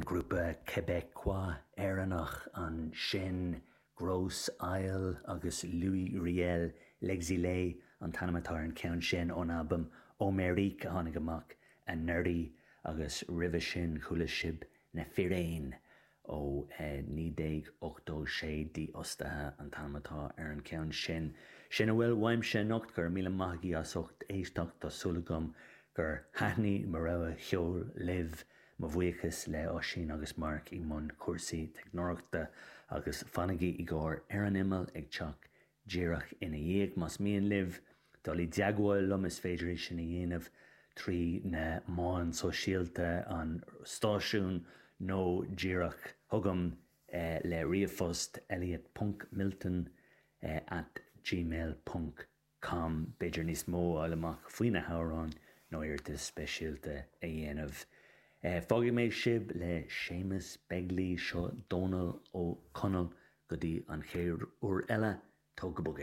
Grúpa Québécois Éireannach ansin, Grosse Isle agus Louis Riel, L'Exilé an t-ainm atá ar an cheann sin ón albam Homérique a tháinig amach anuraidh agus roimhe sin chuala sibh Na Fíréin ó 1986, Dífhostaithe an t-ainm atá ar an cheann sin. Sin a bhfuil uaimse anocht, go raibh míle maith agaibh as ucht éisteacht, tá súil agam gur thaitnigh mo rogha cheoil libh. Mo bhuíochas le Oisín agus Mark i mbun cúrsaí teicneoireachta agus fanaigí i gcomhair Ar an Imeall ag teacht díreach ina dhiaidh. Más mian libh dul i dteagmháil liom is féidir é sin a dhéanamh trí na meáin sóisialta an stáisiúin nó díreach chugam le ríomhphost elliot ponc milton at gmail ponc com. B'fhéidir níos mó a fháil amach faoi na hamhráin nó iarratas speisialta a dhéanamh. Fágfaidh mé sibh le Séamus Begley, seo Dónal Ó Conaill go dtí an chéad uair eile, tóg go bog é.